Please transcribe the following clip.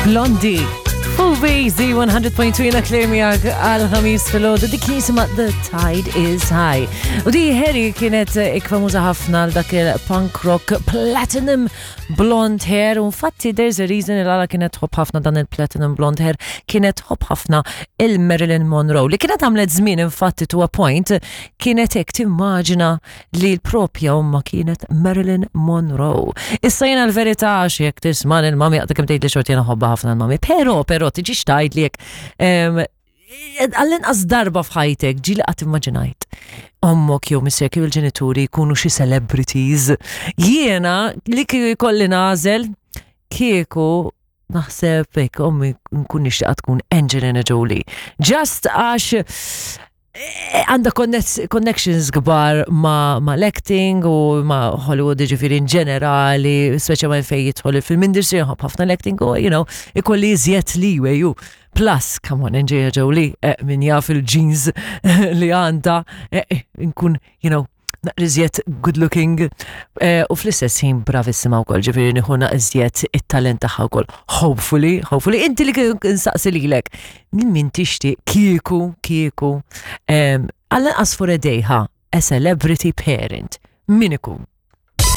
Blondie. Full VZ 100.2 jena Claire miegħek għal ħamis filgħodu dik jisimha The Tide is High. U di Harry kienet ikfamuża ħafna għal dak il-punk rock platinum blonde hair u infatti there's a reason il għala kienet tħobb ħafna dan il-platinum blonde hair kienet tħobb ħafna il-Marilyn Monroe li kienet għamlet żmien infatti to a point kienet hekk timmaġina li l-propja omma kienet Marilyn Monroe. Issa jena l-verità għax jekk tisma' l-mami għadha kemm tgħid li xorti jena ħobba ħafna l-mami, però però tiġix tgħid li jekk għall-inqas darba f'ħajtek ġieli qatt immaġinajt ommok jew missierek jew il-ġenituri jkunu xi celebrities. Jiena li kieku jkolli nagħżel kieku naħseb hekk ommi nkun nixtieqha tkun Angelina Jolie. Just għax eh, għandha connections kbar ma, ma l-acting u ma Hollywood ġifiri in ġenerali, speċjalment fejn jidħol il-film industry, nħobb ħafna l-acting u, you know, ikolli iżjed leeway u plus, come on, Angelina Jolie, eh, min jaf il-jeans li għandha, eh, nkun, you know, naqriżjed good looking eh, u fl-istess ħin bravissima wkoll, ġifieri nieħu naqriżjed it-talent tagħha wkoll. Hopefully, hopefully, inti li nsaqsi lilek, min tixtieq kieku, kieku, għall-inqas for a day ha, a celebrity parent, min ikun?